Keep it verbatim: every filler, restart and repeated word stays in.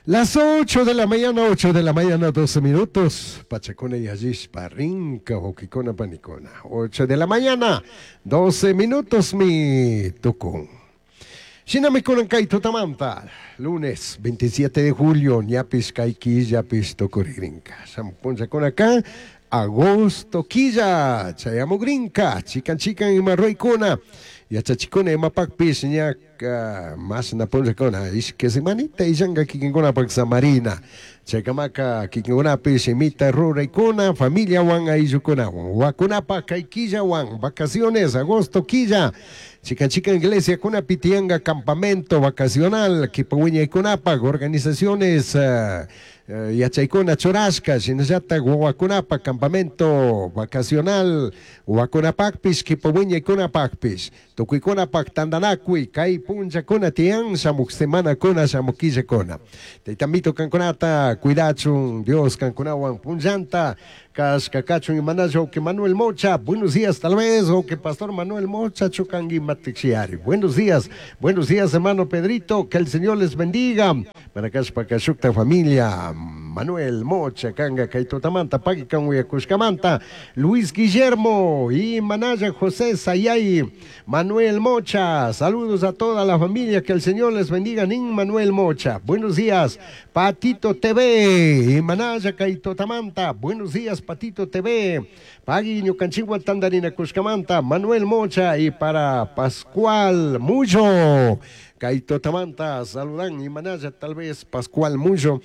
Las ocho de la mañana, ocho de la mañana, doce minutos. Pachacuna yallishpa, rinka, huauquicuna, panicuna. ocho de la mañana, doce minutos, mi tucun. Shinami kunan kay tutamanta, lunes veintisiete de julio, ñapish kay killapish tukurigrinka. Shamuj punllakuna agosto quilla, chayamugrinka, chikan chikan ima ruraykuna, yachachikuna imapakpish ña mashna punllakuna, ishki semanita illanka kikinkunapak samarina. Chaykamaka kikinkunapish imita ruraykuna, familiawan ayllukunawan, wawakunapak kay killawan, vacaciones, agosto quilla, chikan chikan iglesiakunapi tiyanka campamento vacacional, kipa wiñaykunapak, organizaciones uh, yachaykuna churashka, shinallatak wawakunapak campamento vacacional, wawakunapakpish, kipa wiñaykunapakpish, tukuykunapak tandanakuy, kay punllakuna tiyan, shamuk semanakuna, shamuk killakuna. Tayta Amito kankunata cuidachun, Dios kankunawan punllanta, kashka kachun. Imanalla que Manuel Mocha, buenos días tal vez, o que Pastor Manuel Mocha chukangi matixiari. Buenos días, buenos días, hermano Pedrito, que el Señor les bendiga. Manakashpa kashukta familia, Manuel Mocha, kanga kay tutamanta, pagui kan uyakushkamanta, Luis Guillermo y Manaya José Sayay, Manuel Mocha, saludos a toda la familia, que el Señor les bendiga, Nin Manuel Mocha, buenos días, Patito T V, y Manaya kay tutamanta, buenos días, Patito T V, pagui ñukanchikwan tandarinakushkamanta, Manuel Mocha y para Pascual Mucho. Kay tutamanta saludan y Manaya tal vez Pascual Mucho.